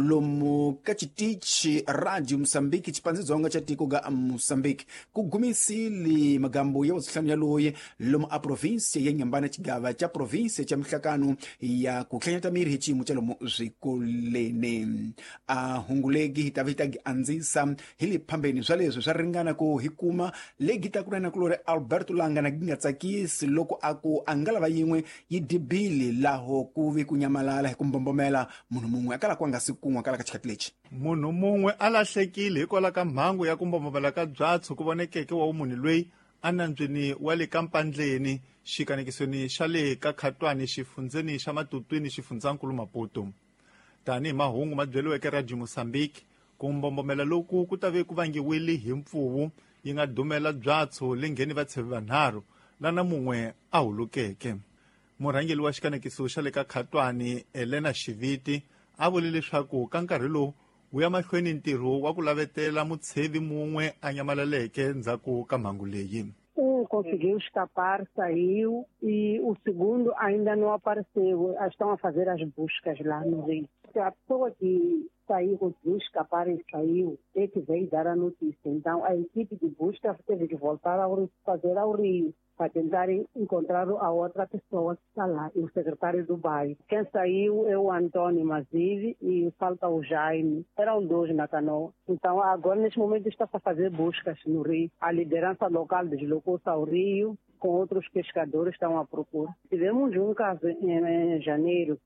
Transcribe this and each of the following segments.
Lomu ka citichi Radio Moçambique, cipandzidzonga ca tiko ga Moçambique, ku gumisile magambo ya vusihlanu ya loyi lomu a província ya Nyambana, cigava ca província ca mihlakano ya ku hlanyata miri hi ciyimo ca lomu swikoleni. A hungulegi hi ta va hi ta gi andzisa hi le phambeni swa leswi swa ringana ku hi kuma legi ta ku na kulori Alberto Langa na gi nga tsakisi loko a ku a nga lava yin'we yi dibili laho ku vi ku nyamalala hi ku mbombomela munhu mun'we a kala ku a nga si kun'wa kala ka xikhati lexi. Munhu mun'we a lahlekile hikwalaho ka mhangu ya ku mbombomela ka byatso ku vonekeke wa vumunhu loyi enambyeni wa le ka Mpandleni, xikanekisweni xa le ka Khatwani, xifundzeni xa Matutwini, xifundzankulu Maputo. Tanihi mahungu ma byeriweke Radio Mozambique, ku mbombomela loku ku ta ve ku vangiwile hi mpfuvu yi nga dumela byatso le ngheni vatshevi vanharhu lana mun'we a hulukeke. Murhangeri wa xikanekiso xa le ka Khatwani, Elena Xiviti, a vule leswaku ka nkarhi lowu wu ya mahlweni ntirho wa ku lavetela mutshevi mun'we a nyamalaleke ndzhaku ka mhangu leyi. Conseguiu escapar, saiu, e o segundo ainda não apareceu. Estão a fazer as buscas lá no rio. A pessoa que saiu, conseguiu escapar e saiu, é que veio dar a notícia. Então a equipe de busca teve que voltar ao, fazer ao rio para tentar encontrar a outra pessoa que está lá, e o secretário do bairro. Quem saiu é o Antônio Mazive e falta o Jaime. Eram dois na canoa. Então agora, neste momento, está-se a fazer buscas no rio. A liderança local deslocou-se ao rio, com outros pescadores estão à procura. Tivemos um caso em janeiro,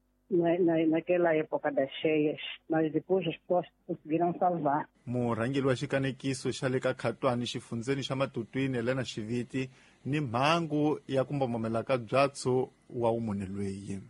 naquela época das cheias, mas depois as pessoas conseguiram salvar. Murhangeri wa xikanekiso xa le ka Khatwani, xifundzeni xa Matutwini, Elena Xiviti, ni mhangu ya ku mbombomela ka byatso wa vumunhu loyi.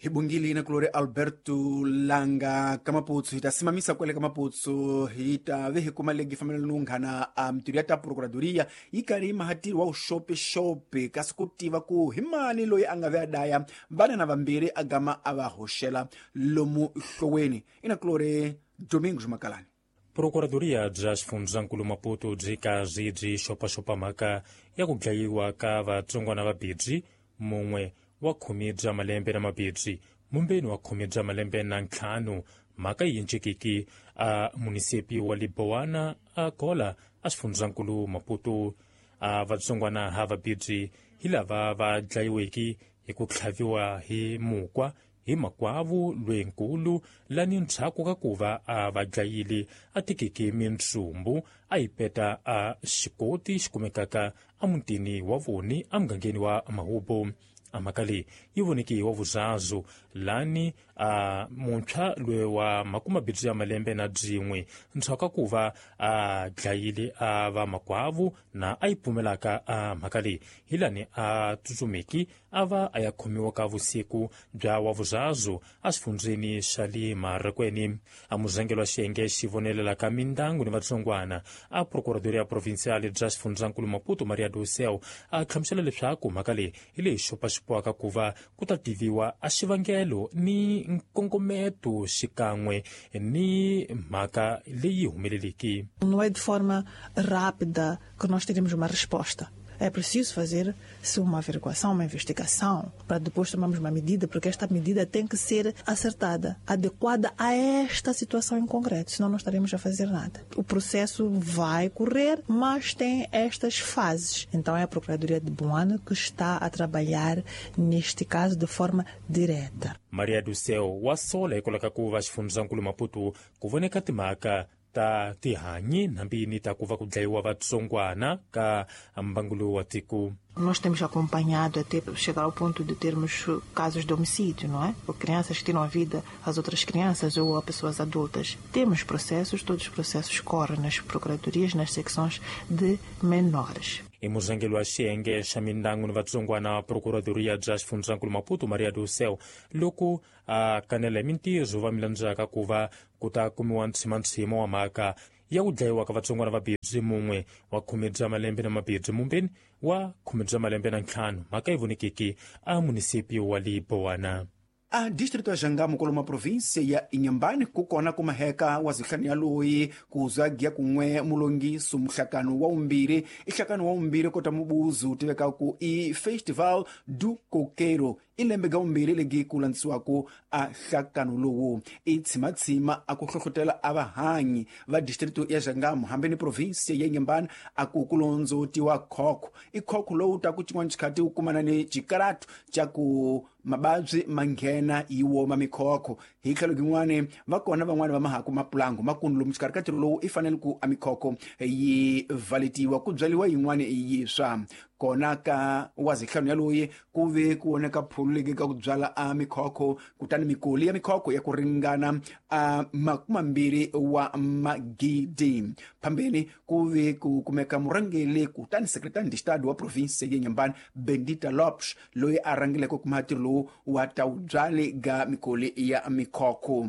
Hi bungile na kulori Alberto Langa ka Maputsu. Hi ta simamisa kwele ka Maputsu, hi ta ve hi kuma legi fambelana no nghana a mintirho ya ta procuradoria yi karhi yi mahatiri wa vuxopexope, kasi ku tiva ku hi mani loyi a nga ve a daya vana na vambirhi a gama a va hoxela lomu hloweni. I na kulori Domingos Makalani. Procuradoria bya xifundzankulu Maputo byi kazi byi xopaxopa mhaka ya ku dlayiwa ka vatsongwana va bibyi, mun'we wa 10 bya malembe na mabibyi, mumbeni wa 10 bya malembe na ntlhanu. Mhaka yi encekiki a munisipi wa Libowana a Gola a xifundzankulu Maputo. A vatsongwana ha vabibyi hi lava va dlayiweki hi ku tlhaviwa hi mukwa hi makwavu lwenkulu lani ndzhaku ka ku va a va dlayile a tekeke mintsumbu a yi peta a xikoti xi kumekaka emutini wa voni emugangeni wa Mahubo. A mhaka leyi yi voneke wa vuzazu lani a muntshwa loyi wa 20 ya malembe na byin'we ndzhaku ka ku va a dlayile a va makwavu na a yi pfumelaka a mhaka leyi hi lani a tsutsumeki a va a ya khomiwa ka vusiku bya wa vuzazu exifundzeni xa le Marekweni. A muzangelo wa xiyenge xi vonelelaka mindyangu ni vatsongwana a procuradoria provincial bya xifundzankulu Maputo, Maria do Céu, a hlamusela leswaku mhaka leyi hi leyi xopaxopiwaka ku va ku ta tiviwa a xivangelo ni nkongometo xikan'we ni mhaka leyi humeleleki. Não é de forma rápida que nós teremos uma resposta. É preciso fazer-se uma averiguação, uma investigação, para depois tomarmos uma medida, porque esta medida tem que ser acertada, adequada a esta situação em concreto, senão não estaremos a fazer nada. O processo vai correr, mas tem estas fases. Então é a Procuradoria de Boane que está a trabalhar neste caso de forma direta. Maria do Céu wa sola hikwalaho ka ku va xifundzankulu Maputo ku voneka timhaka ta tihanyi nambini ta ku va ku dlayiwa vatsongwana ka mbangu lowu wa tiko. Nós temos acompanhado até chegar ao ponto de termos casos de homicídio, não é? Ou crianças que tiram a vida às outras crianças ou a pessoas adultas. Temos processos, todos os processos correm nas procuradorias, nas secções de menores. I murhangeri wa xiyenge xa mindyangu ni vatsongwana procuradoria bya xifundzankulu Maputo, Maria do Céu, loko a kanela hi mintirho va milandzaka ku va ku ta kumiwa ntshimantshima wa mhaka ya ku dlayiwa ka vatsongwana va bibyi, mun'we wa 10 bya malembe na mabibyi, mumbeni wa 15. Mhaka yi vonekeki a munisipi wa Libowana. A distrito ya Jangamo koloma província ya Inhambane kukona kumaheka wa zihlanu ya loyi kuzwa giya kun'we mulongiso muhlakano wa umbiri ihlakano wa umbiri kota mubuzu tivekaku i Festival do Coqueiro i lembe ga umbiri legi ku landzisiwaku a hlakano lowu i tshimatshima a ku hlohlotela a vahanyi va distrito ya Jangamo hambi ni província ya Inhambane a ku kulondzotiwa khokho i khokho lowu ta ku xin'wana xikhati wu kumana ni xikaratu xa ku mababyi ma nghena yi woma mikhokho hi tlhelo rin'wani va kona van'wani va mahaku mapulango makundu lomu xikarhi ka ntirho lowu i fanele ku a mikhokho yi valetiwa ku byariwa yin'wani yiswa kona ka wa zihlanu ya loyi ku ve ku voneka phulu legi ka ku byala a mikhokho kutani mikoli ya mikhokho ya ku ringana a 20 wa magidi phambeni ku ve ku kumeka murhangeli kutani secretary de estado wa province ya Inhambane Bendita Lopes loyi a rhangeleke kuma ntirho lowu wa ta byali ga mikoli ya mikhokho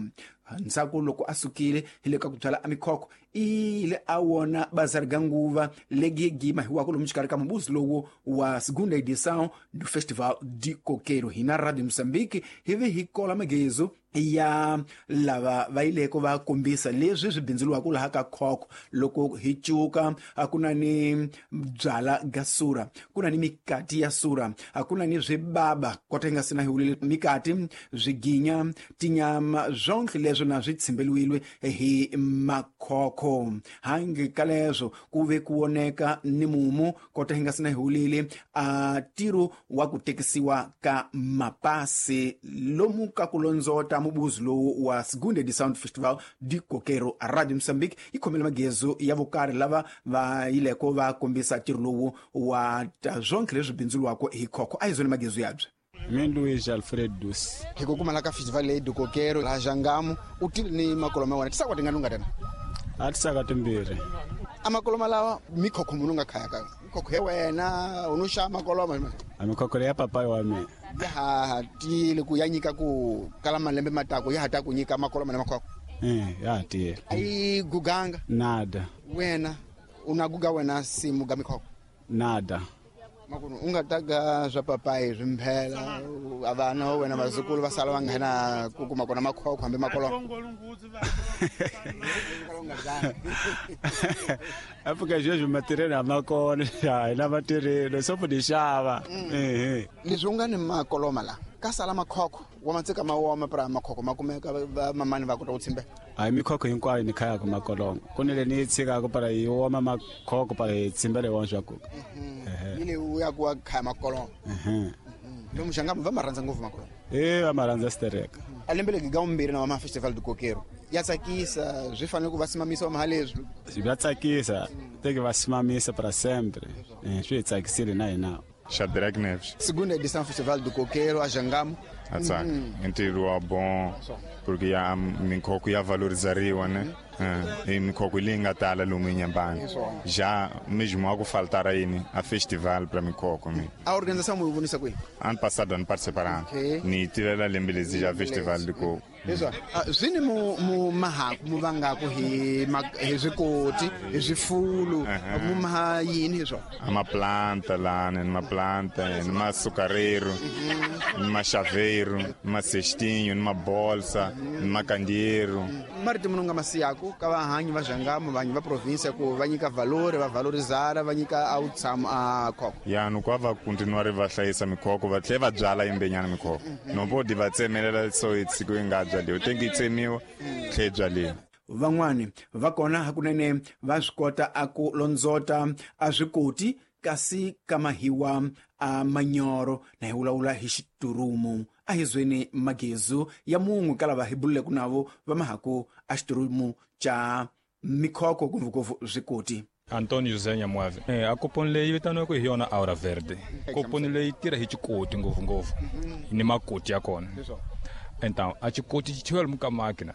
ndzhaku loko a sukile hi le ka ku byala a mikhokho ile a wona bazari ga nguva legi gima hiwako lomu xikarhi ka mubuzi lowu wa segunda edição do Festival de Coqueiro hina Radio Moçambique hi ve hi kola magezo ya lava va yileko va kombisa leswi swi bindzuriwaka laha ka khokho loko hi cuka a ku na ni byala ga sura ku na ni mikati ya sura a ku na ni swibaba kota yi nga sina hi wulile mikati swiginya tinyama zwonke leswo na swi tshimbeliwile hi makhokho hangi ka leswo ku ve ku voneka ni mumu kota hi nga sina hi wulile a tiro wa ku tekisiwa ka mapasi lomu ka ku londzota mubuzi lowu wa segunda edição do Festival de Coqueiro. A Radio Moçambique yi khomele magezo ya vokarhi lava va yileko va kombisa ntirho lowu wa ta zwonke leswi bindzuriwaka hi khokho a hi zone magezo yabye. Mina Luiz Alfred Dus. Hi ku kumala ka festival leyi do Coqueiro la Jangamo u tile ni makoloma wena tisakwa tingani unga tena a tisaka timbirhi a makoloma lawa mikhokho munhu nga khaya ka mikhokho ya wena u no xava makoloma a mikhokho ya papai wa mina ya ha tiyile ku ya nyika ku kala malembe matako ya ha ta ku nyika makoloma na makhokho ya ha tiyile a yi guganga nada wena una guga wena simu ga mikhokho nada makunu u nga taga swa papai swi mphela a vana wa wena vazukulu va sala va nghena ku kuma kona makhokho hambi makoloma Afrika sweswi matirhelo a ma kona a hi na matirhelo so ku ni xava leswi u nga ni makoloma la ka sala makhokho wa matsika ma woma pra makhokho ma kumeka va mamani va kota ku tshimbela a hi mikhokho hinkwayo ni khayaka makoloma ku ni le ni yi tshikaka para yi woma makhokho para hi tshimbela hi wona swa ku yi le u ya ku wa khaya makoloma lomu Jangamo va ma rhandza ngopfu makoloma va ma rhandza stereka a lembe legi ga umbirhi na wa ma Festival do Coqueiro ya tsakisa swi fanele ku va simamisa wa leswi va tsakisa teke va simamisa para sempre swi hi tsakisile na hina Shadrach Neves. Segunda edição Festival do Coqueiro a Jangamo. Atsaka. Ntirho wa bom porque ya mikhokho ya valorizariwa né? E mikhokho leyi nga tala lomu Inhambane. Já mesmo a ku faltar yini a festival para mikhokho mi. A organização mu vonisa kwihi? Ano passado ano participaram. Ni tivela lembe lezi já Festival do Coco. Leswa swi ni mu mahaku mu vangaku hi swikoti hi swifulu mu maha yini hi swona? A maplanta lana, ni maplanta, ni masucareiro, ni machaveiro, ni macestinho, ni mabolsa, ni macandeiro. Marito munhu nga masiyaku ka vahanyi va Jangamo vanyi va provinsia ku va nyika valori va valorizara va nyika a wutshamo a khokho ya no kwa va continuare va hlayisa mikhokho va tlhela va byala yimbenyana mikhokho no bodi va tsemelela so itsiko yi nga byaliwa tengi yi tsemiwa tlhe byaliwa van'wani va kona hakunene va swi kota a ku londzota a swikoti kasi ka mahiwa a manyoro na hi vulavula hi xiturumu a hi zweni magezu ya mun'we ka lava hi bululeke navo va mahaku a xiturumu xa mikhokho ngopfungopfu swikoti. Antonio José Nyamuave. A koponi leyi vitaniwaka hi yona Aura Verde. Koponi leyi tirha hi xikoti ngopfungopfu ni makoti ya kona. Então a xikoti xi cheriwa lomu ka makina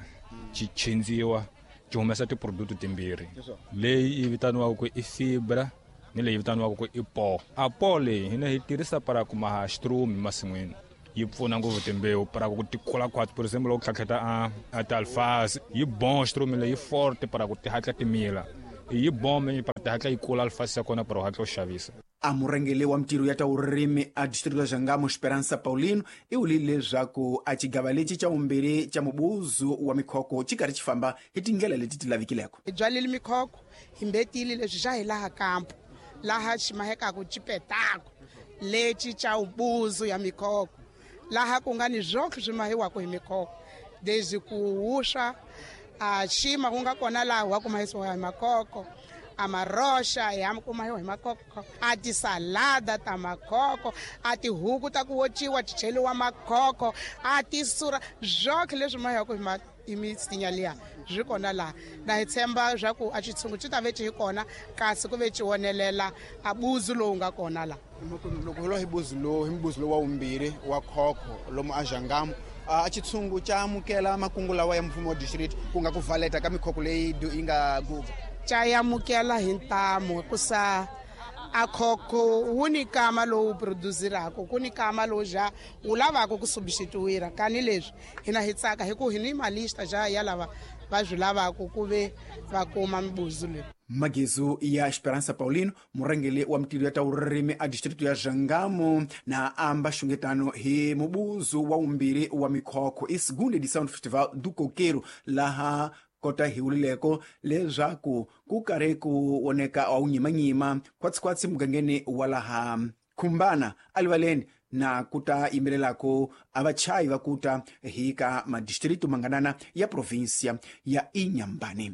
xi chindziwa xi humesa tiproduct timbirhi leyi yi vitaniwaka ku i fibra ni leyi vitaniwaka ku i po. A po leyi hina hi tirhisa para ku maha xitrumu emasin'wini yi pfuna ngopfu timbewu para ku ti kula khwatsi por example loko tlhatlheta a ti-alfalfa yi bon xitrumu leyi forte para ku ti hatla ti mila yi bon para ti hatla yi kula alfalfa ya kona para u hatla u xavisa. A murhangeri wa mitirho ya ta vurimi a distrito ya Jangamo Esperança Paulino i vulile leswaku a xigava lexi xa vumbirhi xa mubuzu wa mikhoko xi karhi xi famba hi tindlela leti ti lavikileko. Hi byalile mikhoko hi mbetile leswi xa hi laha kampo laha xi mahekaku xipetako lexi xa ubuzu ya mikhoko laha ku nga ni zwoke swi mahiwaka hi mikhoko desde ku wuswa a xima ku nga kona laha wa ku mahisiwa hi makhoko a maroxa ya ku mahiwa hi makhoko a tisalada ta makhoko a tihuku ta ku wociwa ti cheliwa makhoko a tisura zwoke leswi mahiwaka hi misinya liya swi kona laha na hi tshemba swa ku a xitshungu xi ta ve xi hi kona kasi ku ve xi wonelela a buzu lowu nga kona laha. Loko hi lwa hi buzu lowu hi mbuzu lowu wa vumbirhi wa khokho lomu a Jangamo a xitshungu xa amukela makungu lawa ya mfumo wa district ku nga ku valeta ka mikhoko leyi yi nga guva xa amukela hi ntamu hikusa a khokho wu ni kama lowu produsiraka ku ni kama lowu ja wu lavaka ku substituira kani leswi hina hi tsaka hi ku hi ni malista ja ya lava va swi lavaka ku ve va kuma mibuzu leyi. Magizu ya Esperança Paulino murhangeri wa mitirho ya ta vurimi a distrito ya Jangamo na amba xungetano hi mubuzu wa vumbirhi wa mikhokho i segunda edição do Festival do Coqueiro laha kota hi wulileko leswaku ku karhi ku voneka wa wunyimanyima khwatsikhwatsi mugangeni wa laha Khumbana alivaleni na ku ta yimbelelako a vachayi va kuta hi ka madistritu manganana ya provinsia ya Inhambane.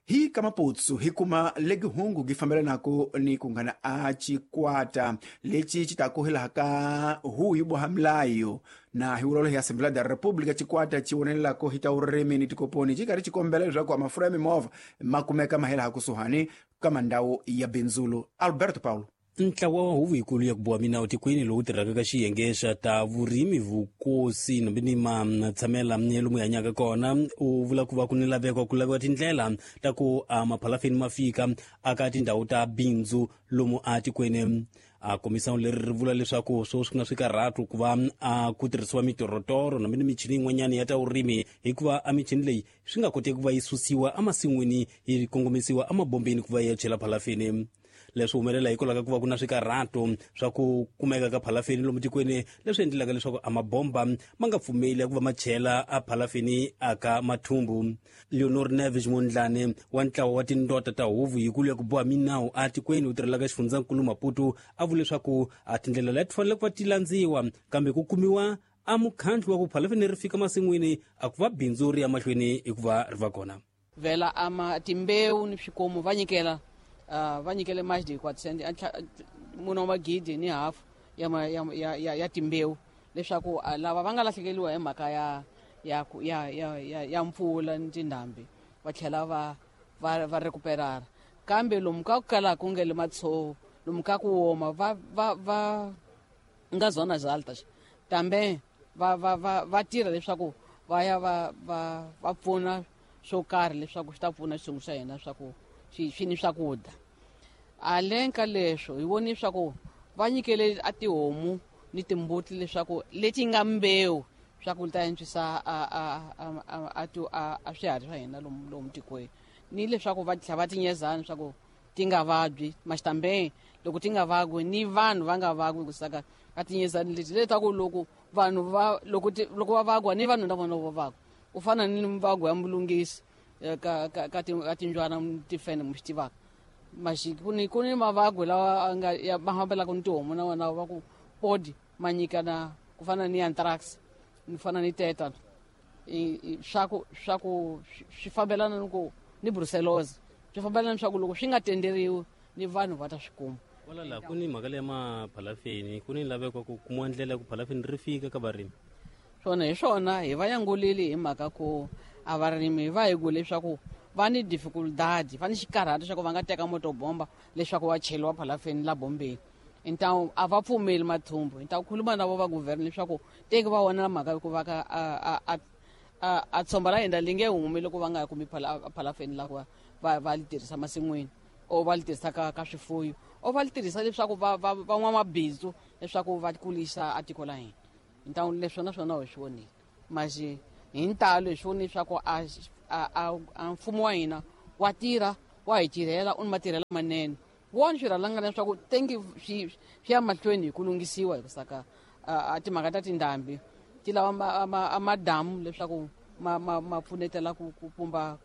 Hi ka Maputsu hi kuma legi hungu gi fambelanako ni ku ngana a xikwata lexi xi ta ku hilaha ka huyu boha milayo na hi vulolo hi Assembleia da República xikwata xi vonelelako hi ta vurimi ni tikoponi xi karhi xi kombela leswaku a mafurha ya mimovha ma kumeka ma helaha kusuhani ka mandhawu ya bindzulo. Alberto Paulo. Ntlawa wa huvo yikulu ya ku boha minawu tikweni lowu tirhaka ka xiyenge xa ta vurimi vukosi nombe ni matshamela lomu hi hanyaka kona u vula ku va ku ni laveko ku laviwa tindlela ta ku a maphalafeni ma fika aka tindhawu ta bindzu lomu a tikweni. A komisano leri ri vula leswaku swo swi nga swikarhatu ku va a ku tirhisiwa mitorotoro nombe ni michini yin'wanyana ya ta vurimi hikuva a michini leyi swi nga koteki ku va yi susiwa emasin'wini yi kongomisiwa emabombeni ku va yi ya chela phalafeni. Leswi humelela hikwalaho ka ku va ku na swikarhato swa ku kumeka ka phalafeni lomu tikweni leswi endlelaka leswaku a mabomba ma nga pfumeli ku va ma chela a phalafeni aka mathumbu. Leonor Neves Mondlane wa ntlawa wa tindota ta huvo yikulu ya ku boha minawu a tikweni wu tirhelaka xifundzankulu Maputo a vula leswaku a tindlela leti fanele ku va ti landziwa kambe ku kumiwa a mukhandlu wa ku phalafeni ri fika masin'wini a ku va bindzu ri ya mahlweni hikuva ri va kona. Vhela ama timbewu ni swikomu va nyikela va nyikele mais de 400 mune wa magidi ni hafu ya timbewu leswaku lava va nga lahlekeriwa hi mhaka ya mpfula ni tindhambi va tlhela va recuperara. Kambe lomu ka ku kalaka ku nge le matshovo lomu ka ku woma va nga zona altas tambe va tirha leswaku va ya va pfuna swo karhi leswaku swi ta pfuna xitshungu xa hina swa ku swi ni swakudya. Aleng ka leswo hi voni swa ku va nyikele a tihomu ni timbuti leswaku leti nga mbewu swa ku ta antswisa a swiharhi swa hina lomu tikweni ni leswaku va tlhela va tinyezana swa ku ti nga vabyi maxitambe loko ti nga vagwi ni vanhu va nga vagwi ku saka a tinyezani leti letaku loko vanhu va loko va vagwa ni vanhu na vona va vagwa u fana ni mvagwa ya mulungisi ka tinjwana tifene mu swi tivaka maxi ku ni mavagwe lawa nga ya ma fambelaka ni tihomu na wona va ku podi ma nyikana ku fana ni anthrax ni fana ni tetan swa ku swi fambelana ni ku ni brucellosis swi fambelana swa ku loko swi nga tenderiwi ni vanhu va ta swi kuma. Wala la ku ni mhaka leya maphalafeni ku ni laveko ku kumiwa ndlela ya ku phalafeni ri fika ka varimi. Swona hi swona hi va yangulile hi mhaka ku a varimi va hi ku leswaku va ni dificultad va ni xikarhato xa ku va nga teka motobomba leswaku va cheliwa phalafeni la bombeni. Então a va pfumeli mathumbu então khuluma na vo va governor leswaku teki va vona mhaka ku va ka a tshomba la hina li nge humi loko va nga kumi phalafeni la ku va li tirhisa masin'wini or va li tirhisa ka swifuyo or va li tirhisa leswaku va n'wamabindzu leswaku va kulisa a tiko la hina. Então leswo na swona hi swi vonile mas hi ntalo hi swi vonile leswaku a mfumo wa hina wa tirha wa hi tirhela u ni matirhelo manene Wona swirhalangana leswaku tengi swi ya mahlweni hi ku lunghisiwa hi ku saka a timhaka ta tindhambi ti lava madamu leswaku ma pfunetela ku pumba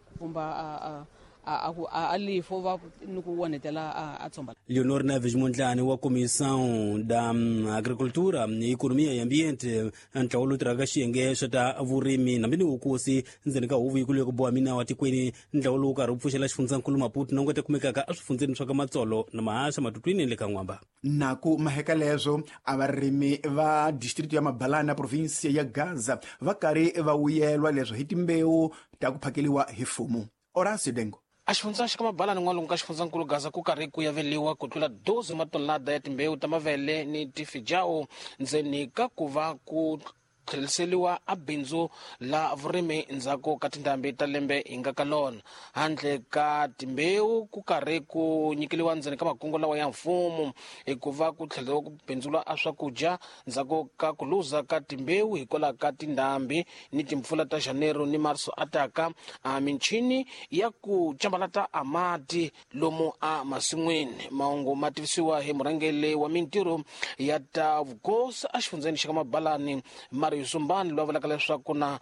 a lifo va ni ku onhetela a tshomba. Leonor Neves Mondlane wa Comissão da Agricultura, Economia e Ambiente, ntlawa lowu tirhaka xiyenge xa ta vurimi hambi ni vukosi ndzeni ka huvo yikulu ya ku boha minawu etikweni. Ntlawa lowu karhi wu pfuxela xifundzankulu Maputo na wu nga ta kumekaka eswifundzeni swa ka Matsolo na Mahasha, Matutwini le ka N'wamba. Na ku maheka leswo a varimi va district ya Mabalana province ya Gaza va karhi va vuyelwa leswo hi timbewu ta ku phakeliwa hi mfumo. Horacio Dengo. A xifundza xa ka Mabalani n'walungu ka xifundzankulu Gaza ku karhi ku yaveliwa ku tlula 12 matonelada ya timbewu ta mavele ni tifijao ndzeni ka ku va ku tlheriseriwa a bindzu la vurimi ndzhaku ka tindhambi ta lembe hi nga ka lona. Handle ka timbewu ku karhi ku nyikeliwa ndzeni ka makungu lawa ya mfumo hikuva ku tlheriwa ku bindzula a swakudya ndzhaku ka ku luza ka timbewu hikwalaho ka tindhambi ni timpfula ta Janeiro ni Marso ataka a michini ya ku cambalata a mati lomu a masin'wini. Mahungu ma tivisiwa hi murhangeri wa mintirho ya ta vukosi exifundzheni xa ka Mabalani Mario Sumbani, loyi a vulaka leswaku na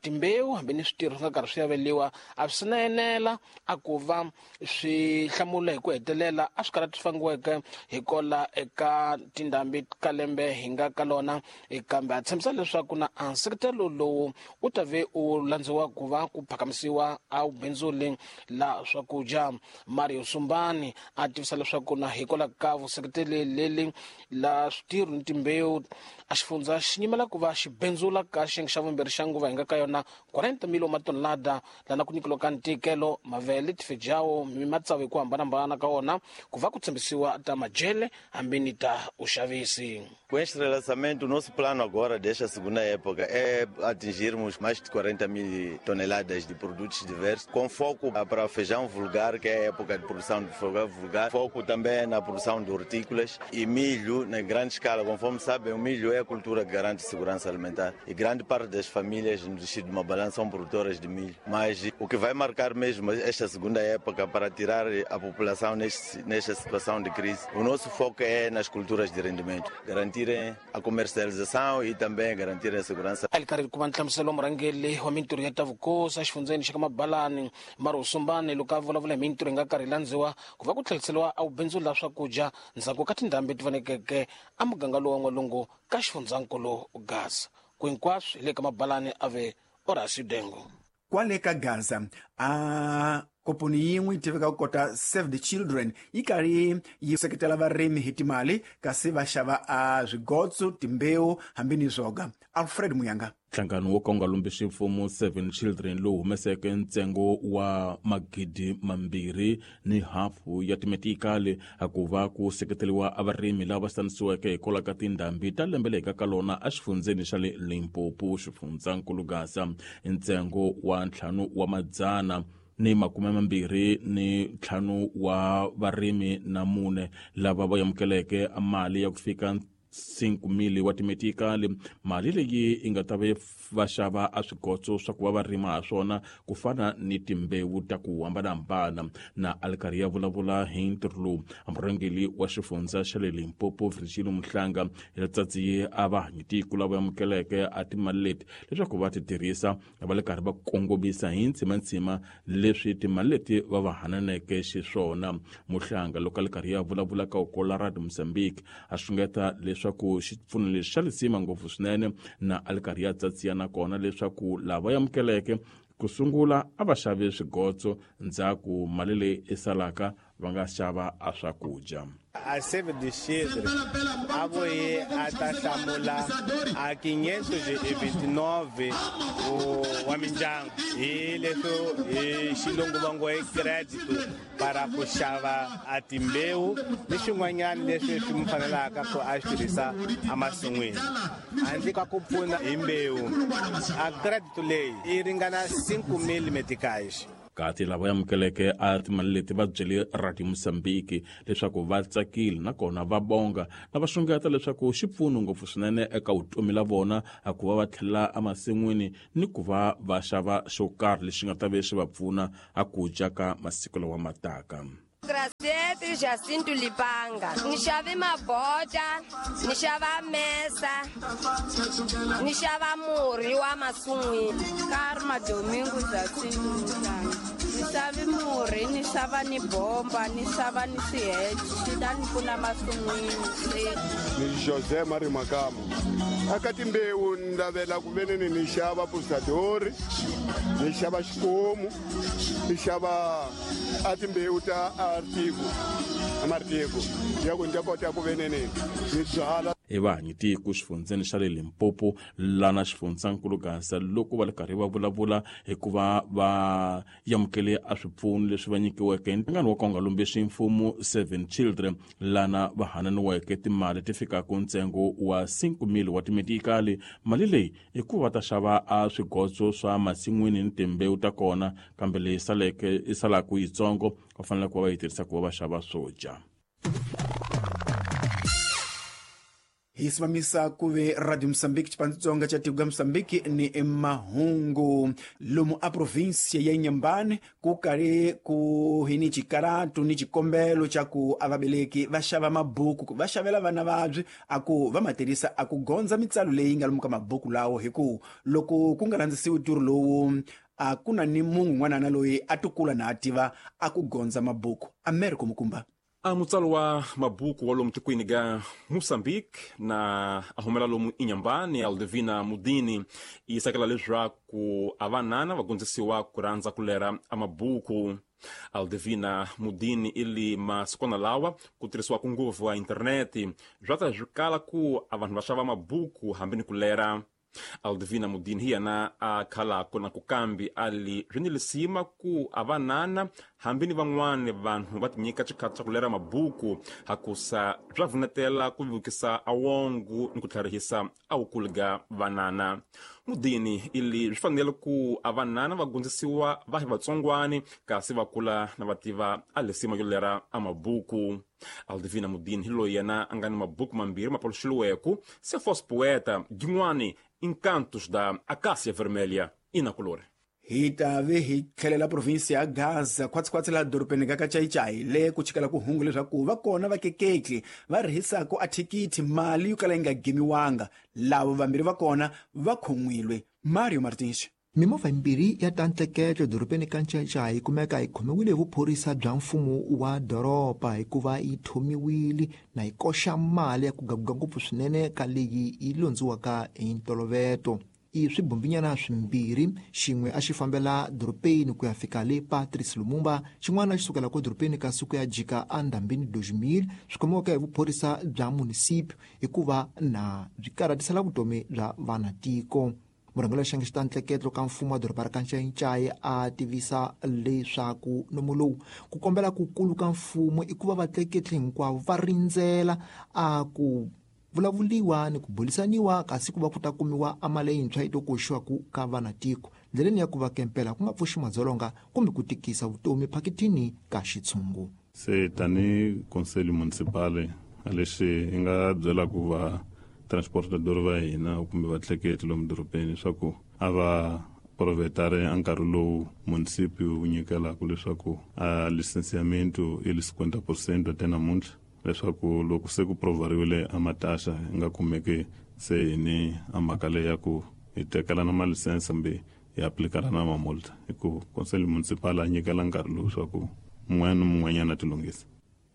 timbewu hambi ni switirho swi nga karhi swi aveliwa a swi na enela a ku va swi hlamula hi ku hetelela a swi karhi swi fangiweke hi kola eka tindhambi ka lembe hi nga ka lona, kambe a tshembisa leswaku na nseketelo lowu wu ta ve u landziwa ku va ku phakamisiwa a wu bindzuli la swakudya. Mario Sumbani a tivisa leswaku na hikwalaho ka vuseketeli leli la switirho ni timbewu a xifundza xi nyimela ku va xi bindzula ka xiyenge xa vumbirhi xa nguva hi nga ka yona 40 mil matonelada lana ku nyikiwa ka ntikelo mavele tifejawo mi matsavu hi ku hambanahambana ka wona ku va ku tshembisiwa ta majele hambi ni ta uxavisi. Com este relançamento, o nosso plano agora desta segunda época é atingirmos mais de 40 mil toneladas de produtos diversos, com foco para feijão vulgar, que é a época de produção de feijão vulgar, foco também na produção de hortícolas e milho na grande escala. Conforme sabem, o milho é a cultura que garante segurança alimentar e grande parte das famílias no distrito de Mabalane são produtoras de milho. Mas o que vai marcar mesmo esta segunda época para tirar a população nesta situação de crise, o nosso foco é nas culturas de rendimento, garantir a comercialização e também garantir a segurança. Ali karhi ku va nhlamuselo murhangeri wa mintirho ya ta vukosi exifundzheni xa ka Mabalani Mario Sumbani loko a vulavula hi mintirho yi nga karhi landziwa ku va ku tlheriseriwa a wubindzu la swakudya ndzhaku ka tindhambi ti vonekeke a muganga lowu wa n'walungu ka xifundzankulu Gaza. Ku hinkwaswo hi le ka Mabalani a ve Horacio Dengo. Kwale ka Gaza a komponi yin'we yi tiveka ku kota Save the Children yi karhi yi seketela varimi hi timali kasi va xava a swigotso, timbewu hambi ni swoga. Alfred Muyanga. Nhlangano wo ka wu nga lombisi mfumo Seven Children lowu humeseke ntsengo wa 2,500 ya timetikali ku va ku seketeriwa a varimi lava va xanisiweke hikwalaho ka tindhambi ta lembe leyi ka lona exifundzheni xa le Limpopo, xifundzankulu Gaza. Ntsengo wa 525 wa varimi na 4 lava va amukeleke mali ya ku fika 5,000 wa timetikali. Mali leyi yi nga ta va xava a swigotso swa ku va va rima ha swona ku fana ni timbewu ta ku hambanahambana. Na a li karhi ya vulavula hi ntirho lowu, murhangeri wa xifundza xa le Limpopo Virgilio Muhlanga hi letsatsi a va hanyitiko lava amukeleke a timali leti leswaku va ti tirhisa va le karhi va kongomisa hi ntsimantsima leswi timali leti va va hananeke xiswona. Muhlanga loko a li karhi ya vulavula ka Okola Radio Mozambique a xungeta leswaku xipfuno lexi xa lisima ngopfu swinene na a li karhi ya tsatsiya na kona leswaku lava amukeleke ku sungula a va xave swigotso ndzhaku mali leyi i salaka va nga xava a swakudya. A Save the Children a vuye a ta hlamula a 529 wa mindyangu hi leswo hi xilungu va ngo i credit para ku xava a timbewu ni swin'wanyana leswi swi mu fanelaka ku a swi tirhisa emasin'wini. Handle ka ku pfuna hi mbewu, a credit leyi yi ringana 5,000 meticais. Kati lava amukeleke a timali leti va byele Radio Mozambique leswaku va tsakile nakona va bonga na va xungeta leswaku xi pfuno ngopfu swinene eka vutomi la vona a ku va va tlhela emasin'wini ni ku va va xava xo karhi lexi nga ta ve xi va pfuna a ku dya ka masiku lawa ma taka. Graciete Jacinto Lipanga. Ni xave mabota, ni xava mesa, ni xava murhi wa masun'wini. Karma Domingo Jacinto Lipanga. Ni xave murhi, ni xava ni bomba, ni xava ni swiheche, swi ta ni pfuna masun'wini. Ni José Mario Makamu. Aka timbewu ni lavela ku veneni ni xava pusadori, ni xava xikomu, ni xava a timbewu ta artigo, amartigo ya ku ni ta kota ku veneni ni byala. Evanyi tiko xifundzeni xa le Limpopo lana xifundzankulu Gaza loko va ri karhi va vulavula hikuva va amukele a swipfuno leswi va nyikiweke nhlangano wa Konga Lombexi mfumo 7 Children lana va hananiweke timali ti fikaka ntsengo wa 5,000 wa timedikali. Mali leyi i ku va ta xava a swigotso swa masin'wini ni timbewu ta kona, kambe leyi saleke i salaka yitsongo va fanele ku va yi tirhisa ku va va xava swo dya. Hi simamisa kuve Radio Mozambique xipandzitsonga xa tiko ga Mozambique ni mahungu lomu a província ya Inhambane ku kali ku hi ni xikaratu ni xikombelo xa ku a vabeleki va xava mabuku va xavela vana vabyi a ku va ma tirhisa a ku gondza mitsalo leyi nga lomu ka mabuku lawo, hi ku loko ku nga landzisiwi ntirho lowu a ku na ni munhu n'wanana loyi a tukula na a tiva a ku gondza mabuku. Americo Mukumba. A mutsalo wa mabuku wa lomu tikweni ga Mozambique na a humela lomu Inhambane Aldevina Mudini yi sakela leswaku a vanana va gondzisiwa ku rhandza ku lera a mabuku. Aldevina Mudini ili masikwana lawa ku tirhisiwaka ngopfu wa interneti swa ta swi kala ku a vanhu va xava mabuku hambi ni ku lera. Aldevina Mudini hi yena a khalako na ku kambi ali swi ni lisima ku a vanana hambi ni van'wani vanhu va tinyika xikhathi xa ku lera mabuku hakusa swa vunetela ku vukisa awongo ni ku tlharihisa awukulu ga vanana. Mudini ili swi fanele ku a vanana va gondzisiwa va hi vatsongwani kasi va kula na va tiva a lisima yo lera a mabuku. Aldevina Mudini hi loyi yena a nga ni mabuku mambirhi ma paluxiliweke se fosse poeta jin'wani Encantos da Acácia Vermelha e na color. Hi ta ve hi tlhelela província ya Gaza khwatsikhwatsi laha dorobeni ka Kachayichayi le ku chikela ku hungu leswaku va kona vakeketli va rihisaka a thikithi mali yo kala yi nga gimiwanga. Lavo vambirhi va kona va khomwile. Mario Martins. Mimovha yimbirhi ya ta ntleketlo dorobeni ka Ncayicayi yi kumeka yi khomiwile hi vuphorisa bya mfumo wa doroba hikuva yi thomiwile na yi koxa mali ya ku gaguga ngopfu swinene ka leyi yi londziwaka hi ntoloveto. I swibumbinyana swimbirhi, xin'we a xi fambela dorobeni ku ya fika le Patrice Lumumba, xin'wana xi sukela ko dorobeni kasi ku ya jika endhambini 2000, swi khomiwaka hi vuphorisa bya munisipio hikuva na byi karhatisela vutomi bya vanatiko. Murhangeri wa xiyenge xa ntleketlo ka mfumo wa doroba ra ka Ncayicayi a tivisa leswaku nomo lowu ku kombela ku kulu ka mfumo i ku va vatleketli hinkwavo va rindzela a ku vulavuliwa ni ku bulisaniwa kasi ku va ku ta kumiwa a mali leyintshwa yi to koxiwaku ka vanatiko ndleleni ya ku va kempela ku nga pfuxi madzolonga kumbe ku tikisa vutomi phakithini ka xitshungu. Se tani conselho municipal lexi hi nga byela ku va transportador va hina kumbe vatleketli lomu dorobeni leswaku a va provetare a nkarhi lowu munisipio wu nyikelaka leswaku a licenciamento i li 50% até namuntlha, leswaku loko se ku provariwile a mataxa hi nga kumeki se hi ni a mhaka leyi ya ku hi tekelana malisense kumbe hi aplikana na mamulta, hi ku conselho municipal a nyikela nkarhi lowu swa ku mun'wana ni mun'wanyana a tilunghisa.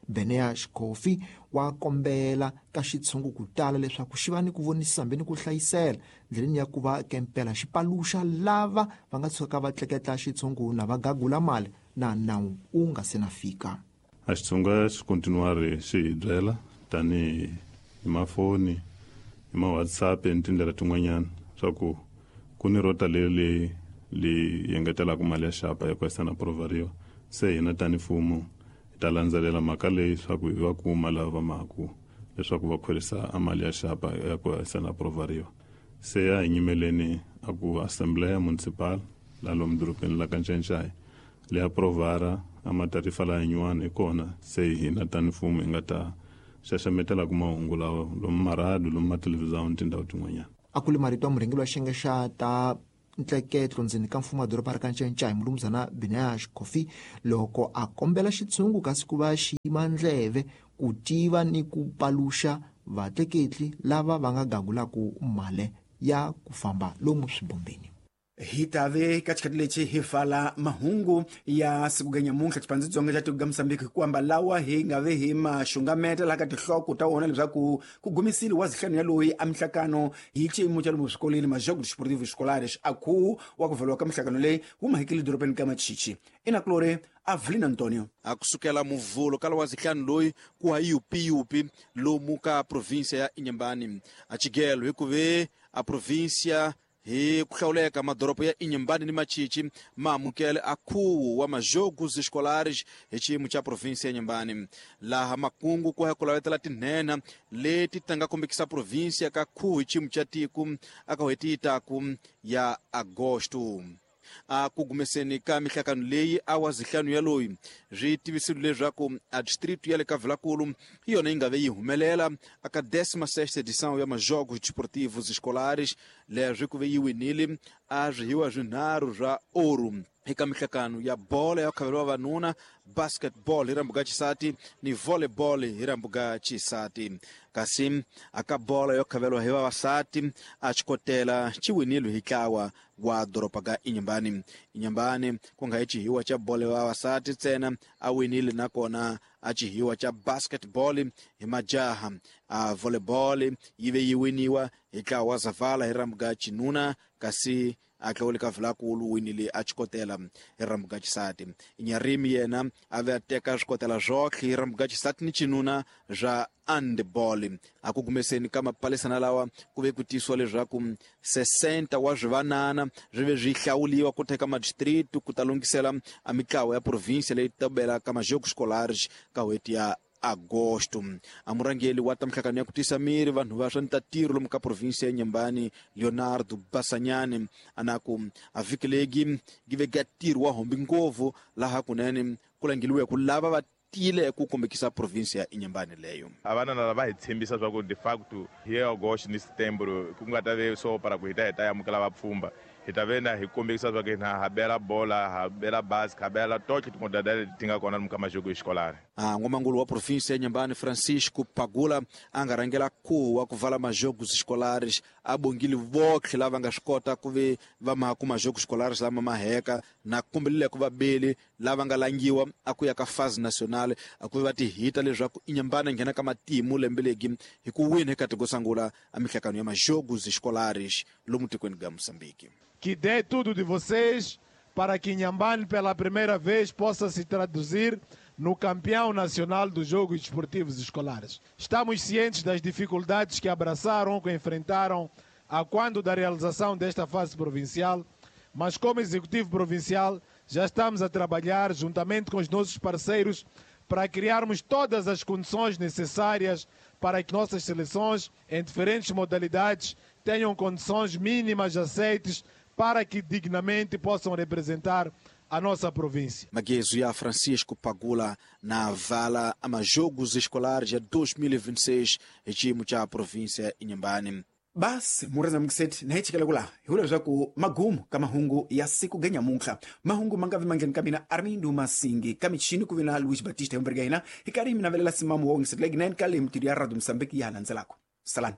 Benea Xikofi wa kombela ka xitshungu ku tala leswaku xi va ni ku vonisisa hambi ni ku hlayisela ndleleni ya ku va kempela xi paluxa lava va nga tshukaka va tleketla xitshungu na va gagula mali na nawu wu nga se na fika. A xitshunga xi kontinuari xi hi byela tanihi hi mafoni, hi ma-WhatsApp ni tindlela tin'wanyana swa ku ku ni rota leri li engetelaka mali ya xapa ya ku yisa na provariwa. Se hina tani mfumo hi ta landzelela mhaka leyi swa ku hi va kuma lava va maku leswaku va khwerisa a mali ya xapa ya ku yisa na provariwa. Se a hi nyimeleni a ku assembleya municipal la lomu dorobeni la ka Ncayicayi leya provara a matarifa la yin'wana hi kona se hina tani mfumo hi nga ta xaxametela ku mahungu lawa lomu marhadu lomu mathelevhizani ni tindhawu tin'wanyana. A ku ri marito ya murhangeri wa xiyenge xa ta ntleketlo ndzeni ka mfumo wa doroba ra ka Ncayincaya mulumuzana Binash Coffee loko a kombela xitshungu kasi ku va xiyima ndleve ku tiva ni ku paluxa vatleketli lava va nga gagulaku mali ya ku famba lomu swibombeni. Hi tave ka xikhathi lexi hi vala mahungu ya siku ga nyamuntlha xipandzitsonga Tsonga xa tiko ga Mosambiki hikuamba lawa hi nga ve hi maxungameta laha ka tinhloko ta wona leswaku ku gumisile wa zihlanu ya loyi a mihlakano hi xiyimo xa lomu swikolweni majogo desportivo escolares a khuwu wa ku valiwa ka mihlakano leyi wu mahekile dorobeni ka Machichi inakulori Avelino Antonio. A kusukela muvulo kala wa zihlanu loyi ku ha yupiyupi lomu ka província ya Inhambane a chigelo hikuve a província hi ku hlawuleka madoropo ya Inhambane ni Machichi ma amukele a khuwu wa majogos escolares hi xiyimo xa província ya Inhambane laha makungu ku ya ku lavetela tinhenha leti ta nga kombekisa província ka khuwu hi xiyimo xa tiko aka n'hweti yi taku ya agosto. A ku gumeseni ka mihlakano leyi a wa zihlanu ya loyi swi tivisile leswaku a distrito ya le ka Vilakulu hi yona yi nga ve yi humelela aka 16ª edição ya majogos desportivos escolares leswi ku ve yi winile a swihiwa swinharhu swa ouro eka mihlakano ya bola ya khavelo vavanuna, basketball hi rambuga xisati ni volleyball hi rambuga xisati. Kasi aka bola yo khaveliwa hi vavasati a xikotela xi winile hi ntlawa wa doroba ga Inhambane. Inhambane ku nga hi xihiwa xa bola ya vavasati ntsena a winile nakona a xihiwa xa basketball hi majaha. A volleyball yi ve yi winiwa hi ntlawa wa Zavala hi rambuga xinuna kasi a tlawule ka Vilakulu winile a xikotela hi rambuga xisati. Nyarimi yena a ve a teka swikotela swotlhe hi rambuga xisati ni xinuna swa handball. A ku gumeseni ka mapalisana lawa ku ve ku tisiwa leswaku 60 wa swivanana swi ve swi hlawuliwa ku teka madistritu ku ta lunghisela a mitlawa ya província leyi ta bela ka majogos escolares ka n'hweti ya agosto. A murhangeri wa ta mihlakano ya ku tisa miri vanhu va swa ntatiro lomu ka província ya Inhambane Leonardo Basanyane a na ku a vhiki legi gi ve ga ntirho wa hombi ngopfu laha kunene ku langeliwe ku lava va tile ku kombekisa província ya Inhambane leyo. A vanana lava hi tshembisa swa ku de facto hi agosto ni setembro ku nga ta ve so para ku hi ta hi ta amukela vapfhumba hi ta ve na hi kombekisa swa ku hina ha bela bola ha bela basket ha bela totlhe timodalidade leti ti nga kona lomu ka majoko exikolani. A n'wamangulu wa província ya Inhambane Francisco Pagula a nga rhangela khuwu wa ku vala majogos escolares a bongile votlhe lava nga swi kota ku ve va maha ku majogos escolares lama ma heka na kombelile ku vabeli lava nga langiwa a ku ya ka fase nacional a ku ve va ti hita leswaku Inhambane nghena ka matimu lembe legi hi ku wina eka tiko sungula a mihlakano ya majogos escolares lomu tikweni ga Moçambique. Que dê tudo de vocês para que Inhambane pela primeira vez possa se traduzir no campeão nacional dos Jogos Desportivos Escolares. Estamos cientes das dificuldades que abraçaram, que enfrentaram a quando da realização desta fase provincial, mas como Executivo Provincial já estamos a trabalhar juntamente com os nossos parceiros para criarmos todas as condições necessárias para que nossas seleções em diferentes modalidades tenham condições mínimas aceites para que dignamente possam representar a nossa província. Magezo ya Francisco Pagula na vala a majogos escolares ya 2026 hi xiyimo xa província ya Inhambane. Basi mureza mukiseti na hi chikela kula hi vula leswaku magumu ka mahungu ya siku ga nyamuntlha mahungu ma nga vi mangheni ka mina Armindo Masingi ka michini ku vi na Luis Batista hi ka hina hi karhi mi navelela simamu wa ngisetlegi 9 ka le mitirho ya Radio Mosambiki ya ha landzelaka. Salani.